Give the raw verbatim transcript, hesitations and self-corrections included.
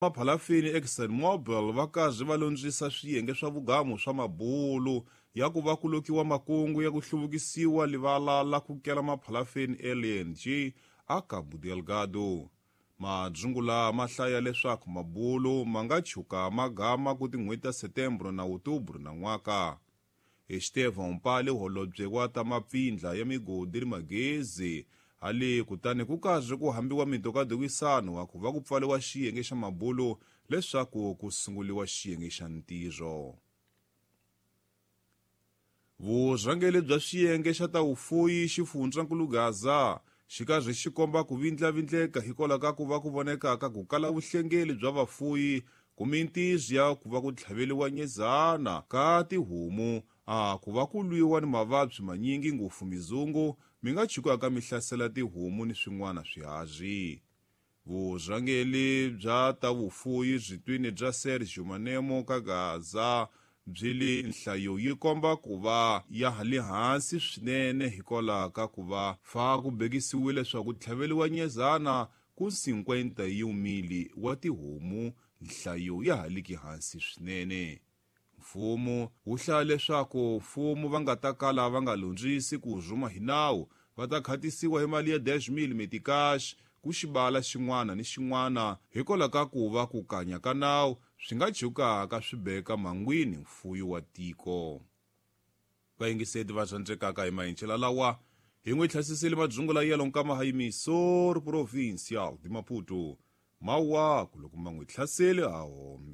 Maphalafini ExxonMobil va karhi va londzisa swiyenge swa vugamu swa mabulu ya ku va ku lokiwa makungu ya ku hluvukisiwa livala la ku kela maphalafini L N G a Cabo Delgado. Madzungula ma hlaya leswaku mabulu ma nga chuka ma gama ku tin'hweti ta Setembro na Outubro na n'waka. Estevão Mpale, holobye wa ta mapfindla ya migodi ni magezi, hale kutani ku karhi ku hambiwa mitokadokisano wa ku va ku pfariwa xiyenge xa mabulu leswaku ku sunguliwa xiyenge xa ntirho. Vurhangeri bya xiyenge xa ta vufuyi xifundzankulu Gaza xi karhi xi komba ku vindlavindleka hikwalaho ka ku va ku vonekaka ku kala vuhlengeli bya vafuyi ku mintirho ya ku va ku tlhaveliwa nyezana ka tihomu a ku va ku lwiwa ni mavabyi manyingi, ngopfu mizungu mi nga chukaka mi hlasela tihomu ni swin'wana swiharhi. Vurhangeri bya ta vufuyi byitwini bya Sergio Manemo ka Gaza byi li nhlayo yi komba ku va ya ha le hansi swinene hikwalaho ka ku va fa ku bekisiwile leswaku ku tlhaveliwa nyezana ku cinquenta e um mil wa tihomu, nhlayo ya ha liki hansi swinene. Mfumo wu hlaya leswaku mfumo va nga ta kala va nga londzisi ku rhuma hi nawu va ta khatisiwa hi mali ya dez mil meticais ku xibala xin'wana ni xin'wana hikwalaho ka ku va ku kanya ka nawu swi nga chukaka swi beka mangwini mfuyo wa tiko. Vayingiseti va rhandzekaka, hi mahincela lawa hi n'wi tlhasisile madzungula yelo nkama ha emisora provincial de Maputo. Mawaku loko ma n'wi hlaseli a hombe.